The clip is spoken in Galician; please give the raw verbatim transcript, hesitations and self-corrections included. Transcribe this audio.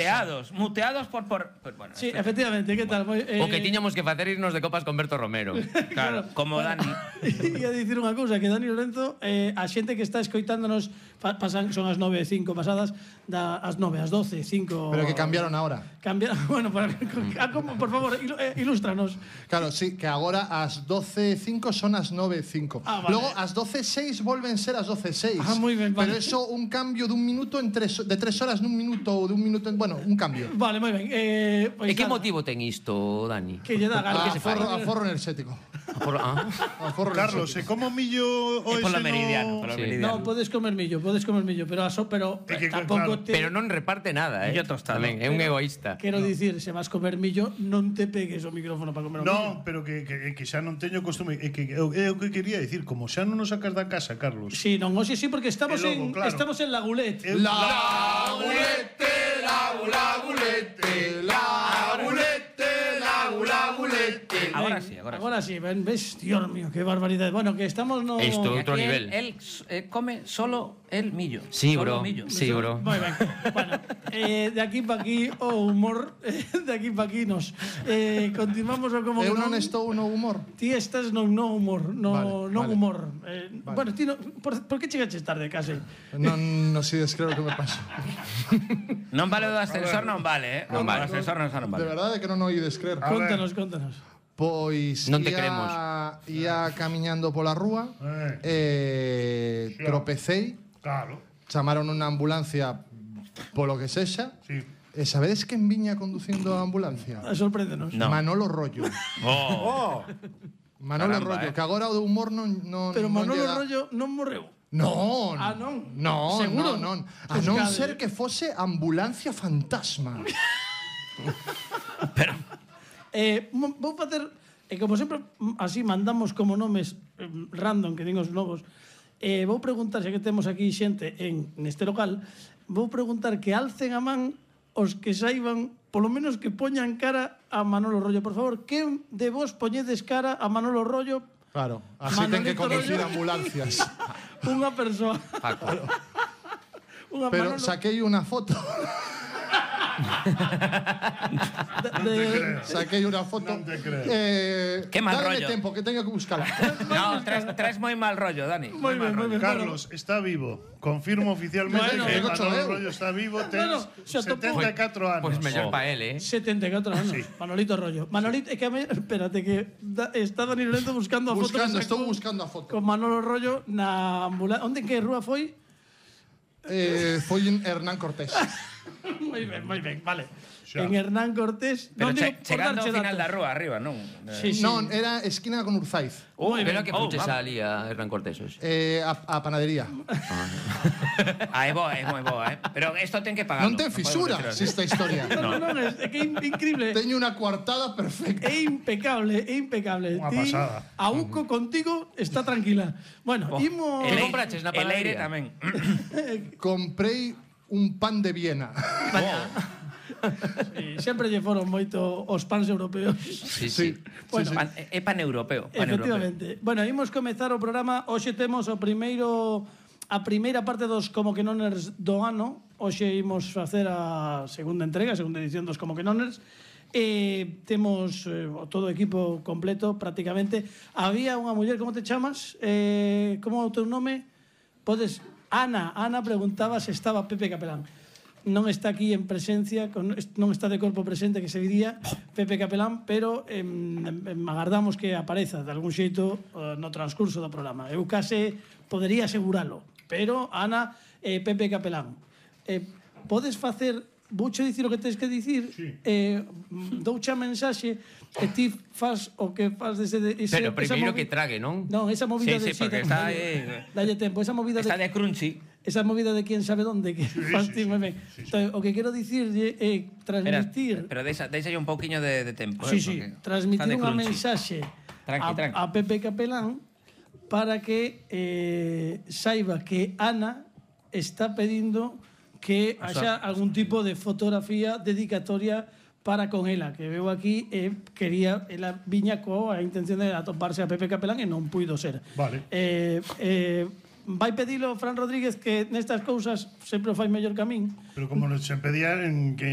muteados, muteados por... por, por bueno, sí, efectivamente, ¿qué tal? Eh... O que tiñamos que facer irnos de copas con Berto Romero. Claro, como Dani. E a dicir unha cousa, que Dani Lorenzo, eh, a xente que está escoitándonos, pasan, son as nove e cinco pasadas, da, as nove, as doce, cinco... Pero que cambiaron ahora. Cambiaron, bueno, para, por favor, ilústranos. Claro, sí, que agora as doce e cinco son as nove e cinco. Ah, vale. Logo, as doce e seis volven ser as doce e seis. Ah, moi ben, vale. Pero eso, un cambio dun minuto en tres, de tres horas nun minuto ou dun minuto en... Bueno, un cambio. Vale, moi ben. Eh, pues, e que motivo ten isto, Dani? Que lle dá gana. Ah, aforro, aforro enerxético. Aforro, ah. aforro Carlos, e como millo o ese no... meridiano, sí. meridiano. No, podes comer millo, podes comer millo, pero aso, pero que, tampouco claro. te... Pero non reparte nada, eh. Millo tostado. Tamén, é un egoísta. Quero dicir, se vas comer millo, non te pegues o micrófono para comer o no, millo. No, pero que, que, que xa non teño costume. É que, é o que quería dicir, como xa non nos sacas da casa, Carlos. Sí, non, hoxe sí, porque estamos, logo, en, claro. estamos en La Gulette. La Gulette, la Gulette, la Gulette, la Gulette. Ahora sí, agora, agora sí. Ven, ves, Dios mío, qué barbaridade. Bueno, que estamos no... Isto outro nivel. Él, él eh, come solo el millo. Sí, solo bro. Millo. Sí, bro. Moi ben. Bueno, eh, de aquí para aquí o humor, eh, de aquí para aquí nos. Eh, continuamos o como Eu non, non estou no humor. Ti estás no no humor, no vale, no vale. humor. Eh, vale. Bueno, ti no, por, por que chegaches tarde, case? Non, non sei descreo que me paso. Non vale o do ascensor, non vale, eh. Non vale, o ascensor non, non vale. De verdade que non o ides crer. Contanos, contanos. Pois non te ia, queremos. Ia camiñando pola rúa eh, eh, tropecei. Claro. Chamaron unha ambulancia polo que sexa. Sí. E sabedes quen viña conducindo a ambulancia? Sorpréndenos. No. Manolo Rollo. Oh. Manolo Caramba, Rollo, eh. que agora o de humor non non Pero non Manolo lle dá... Rollo non morreu. Non. Ah, non. Non, Seguro? non, non. A Pues non cade. ser que fose ambulancia fantasma. Pero Eh, vou facer, e como sempre así mandamos como nomes eh, random que din os novos. Eh, vou preguntar, xa que temos aquí xente en neste local, vou preguntar que alcen a man os que saiban, polo menos que poñan cara a Manolo Rollo. Por favor, que de vos poñedes cara a Manolo Rollo? Claro, así ten que Manolito conducir Rollo. ambulancias. Unha persoa. Paco. Unha Pero Manolo saquei unha foto. de, de, Saquei unha foto. Non te creo. Eh, Qué mal dádeme rollo. tempo, que teño que buscala. no, traes, traes moi mal rollo, Dani. moi ben, moi ben. Carlos está vivo. Confirmo oficialmente Bueno, que digo Manolo eu. Rollo está vivo. Ten Bueno, xa topou. setenta e catro anos. Pois pues mellor Oh. pa él, eh. setenta e catro anos. Sí. Manolito Rollo. Manolito, é que a me, espérate que da, está Dani Lorenzo buscando a foto. Buscando, que sacou estou buscando a foto. Con Manolo Rollo na ambulancia. Onde que rúa foi? Eh, foi en Hernán Cortés. moi ben, moi ben, vale. Xa. En Hernán Cortés. Pero non digo che, por chegando ao darche final da datos. rúa, arriba, non? Sí, sí. Non, era esquina con Urzaiz. Moi Pero ben. que Oh, puches vamos. ali a Hernán Cortés hoxe. Eh, a, a panadería. Ah, é boa, é moi boa, eh. Pero isto ten que pagarlo. Non ten fisura esta historia. Non, non, non, é que é increíble. Teño unha coartada perfecta. É impecable, é impecable. Unha Ti, pasada. a Uco contigo está tranquila. Bueno, Oh, imos... el Que compraches na El aire panadería? tamén. Comprei un pan de Viena. Sí, sempre lle foron moito os pans europeos. Sí, sí. Bueno, Pan, é paneuropeo. Pan efectivamente. Bueno, imos comezar o programa. Hoxe temos o primeiro a primeira parte dos Como que Noners do ano. Hoxe imos facer a segunda entrega, a segunda edición dos Como que Noners. Eh, temos eh, todo o equipo completo prácticamente. Había unha muller, como te chamas? Eh, como é o teu nome? Podes Ana, Ana preguntaba se estaba Pepe Capelán. Non está aquí en presencia, con, non está de corpo presente, que se diría Pepe Capelán, pero eh, agardamos que apareza de algún xeito uh, no transcurso do programa. Eu case podería aseguralo, pero Ana, eh, Pepe Capelán, eh, podes facer, vouche dicir o que tens que dicir, Sí. eh, douche a mensaxe e ti fas o que fas dese... De, ese, Pero esa primeiro movi- que trague, non? Non, esa movida Sí, de... sí, porque está dalle- aí- dalle tempo, esa movida Está de... de crunchy. Esa movida de quién sabe dónde que Sí, fas sí, ti moi sí, ben. sí, sí. Entón, o que quero dicir é Espera, transmitir, pero deixa, deixa un pouquiño de, de tempo. sí, eh, sí, porque transmitir está de unha crunchy. mensaxe Tranqui, a, tranqui. a Pepe Capelán para que eh, saiba que Ana está pedindo que haxa algún tipo de fotografía dedicatoria para con ela, que veo aquí e eh, quería, ela viña coa intención de atoparse a Pepe Capelán e non puido ser. Vale. Eh, eh, vai pedilo Fran Rodríguez, que nestas cousas sempre o fai mellor que a min. Pero como nos se pedían en que